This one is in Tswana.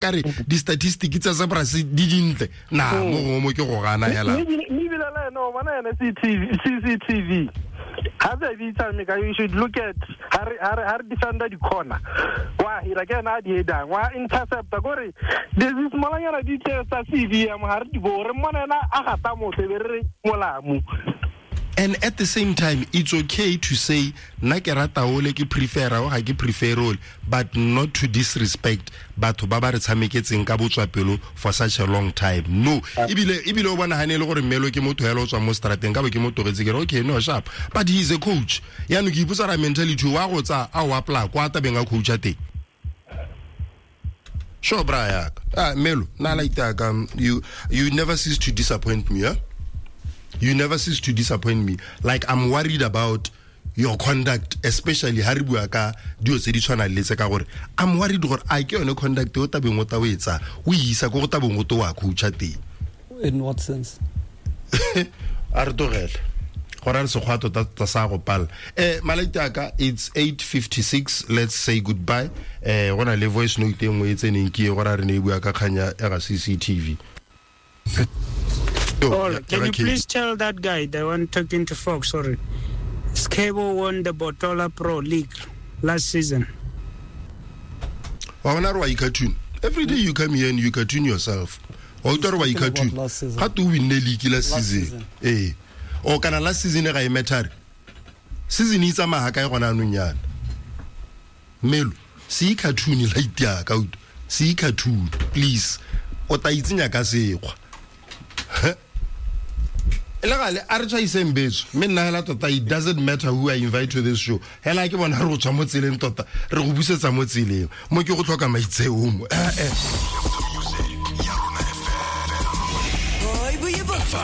Ka re di-statistic tsa Zebras di dintle na mo gongwe mo ke go gana hela. Mme ebile le ene o bona ene CCTV ga se bitsa me ka, you should look at ha re ha re ha re defender di corner, wa hira ke ena a di edang, wa interceptor, kore there's this molanyana di tse tsa CV ya mo ha re di bo re mmona ena a gata motho e be re re molamu. And at the same time, it's okay to say nna ke rata ole, ke prefera o, ga ke prefer ole, but not to disrespect batho ba ba re tshameketseng ka botswapelo for such a long time. No, ebile o bona gane e le gore mmelo ke motho hela o tswang mo strateng, ka bo ke mo togetse, ke re okay, no, sharp, but he is a coach. Yaanong ke ipotsa ra mentality wa go tsa a o apply kwa tabeng a coacha teng. Sure, bra yaka. Ah, Melo, na like that. You never cease to disappoint me, huh? You never cease to disappoint me. Like, I'm worried about your conduct, especially ha re bua ka dilo tse di tshwanang le tse, ka gore I'm worried gore a ke yone conduct o tabeng o ta o e tsaya o e isa ko go tabeng o to wa coacha teng. In what sense? A re tlogele gore a re sekgwa tota tota sa go pala. Malaiti aka, it's 8:56, let's say goodbye. Go na le voice note e nngwe e tseneng, ke e gore a re ne e bua ka kganya ya ga CCTV. Yo, Paul, can you okay. please tell that guy, the one talking to Fox, sorry, Skebo won the Botola Pro League last season. Wa bona re wa i-cartoon. Every day you come here and you cartoon yourself. Wa utlwa re wa He's talking about i-cartoon. last season. Ga te o winne league last Last season. season. Ee. O kana last season ga e matter. Season e tsamaya ga kae gona anong yana? Melo, se i-cartoon la itia ka utlwa. Se i-cartoon, please. O tla itsenya ka sekgwa. E le gale a re tšhaiseng betso, mme nna hela tota it doesn't matter who I invite to this show. Hela ke bona re go tswa mo tseleng tota, re go busetsa mo tseleng. Mo ke go tlhoka maitseo mo.